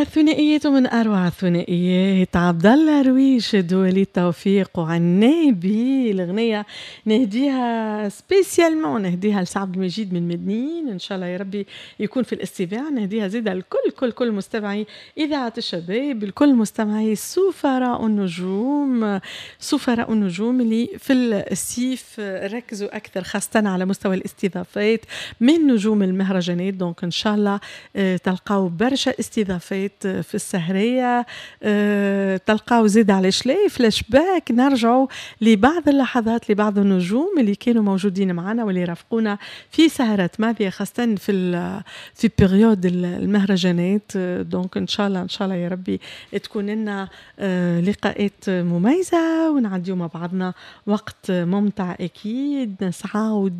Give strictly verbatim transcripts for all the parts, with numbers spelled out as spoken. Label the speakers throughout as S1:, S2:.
S1: الثنائيات ومن اروع الثنائيات عبد الله رويشد ووليد توفيق وعنابي. الاغنية نهديها spécialement، نهديها لسعد المجيد من مدنين، ان شاء الله يا ربي يكون في الاستماع. نهديها زيدا لكل كل كل مستمعي اذاعة الشباب، لكل مستمعي سفراء النجوم، سفراء النجوم اللي في الصيف ركزوا اكثر خاصة على مستوى الاستضافات من نجوم المهرجانات. donc ان شاء الله آه، تلقاو برشا استضافات في السهريه، آه، تلقاو زيد علاش لا فلاش باك، نرجعوا لبعض اللحظات لبعض النجوم اللي كانوا موجودين معنا واللي رافقونا في سهرات ماضيه، خاصة في في période المهرجانات. donc ان شاء الله ان شاء الله يا ربي تكون لنا آه، لقاءات مميزة ونعديو مع بعضنا وقت ممتع. اكيد نسعاو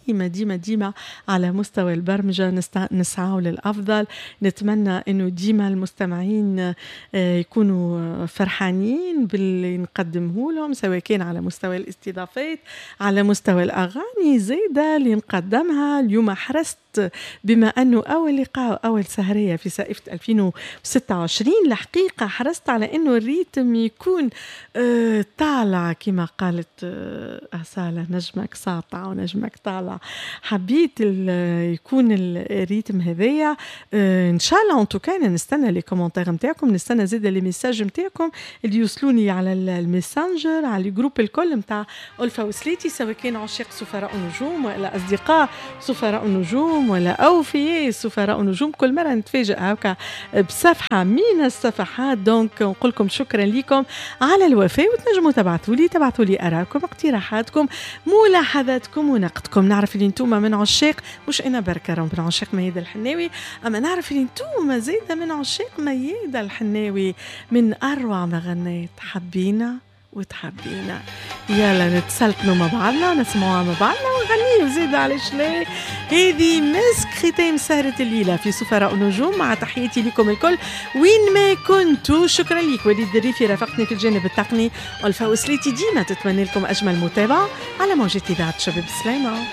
S1: ديما ديما ديما على مستوى البرمجة نسعاو للافضل. نتمنى انه ديما المستمعين آه، يكونوا فرحانين باللي نقدمه لهم، سواء كان على مستوى الاستضافات، على مستوى الاغاني زاده اللي نقدمها. اليوم حرصت بما انه اول لقاء، اول سهريه في صيفه ألفين وستة وعشرين، الحقيقة حرصت على انه ال rythme يكون آه، طالع كما قالت آه، أصالة نجمك ساطع ونجمك طالع. حبيت يكون ال rythme هذايا آه، ان شاء الله. en tout cas نستنى les commentaires نتاعكم، نستنى زيد les messages نتاعكم اللي يوصلوني على الميسنجر، على ال groupes الكل نتاع ألفا وسليتي، سواء كان عشاق سفراء النجوم ولا أصدقاء سفراء النجوم ولا أوفياء سفراء النجوم. كل مرة نتفاجئ هكا بصفحة من الصفحات. donc نقول لكم شكرا لكم على الوفاء، وتنجموا تبعثوا لي تبعثوا لي آرائكم، اقتراحاتكم، ملاحظاتكم ونقدكم. نعرف اللي انتم من عشاق، مش انا بركة من عشاق ميادة الحناوي، اما نعرف اللي انتم زايدة من عشاق ميادة الحناوي، من اروع ما غنيت حبينا وتحبينا. يلا نتسلطنوا مع بعضنا، نسمعوها مع بعضنا ونغنيو زيد، علاش لا. هذه مسك ختام سهرة الليلة في سفراء النجوم، مع تحياتي لكم الكل وين ما كنتوا. شكرا لك وليد الريفي رافقتني في الجانب التقني. ألفا وسليتي ديما تتمنى لكم أجمل متابعة على موجة إذاعة شباب. سلامة.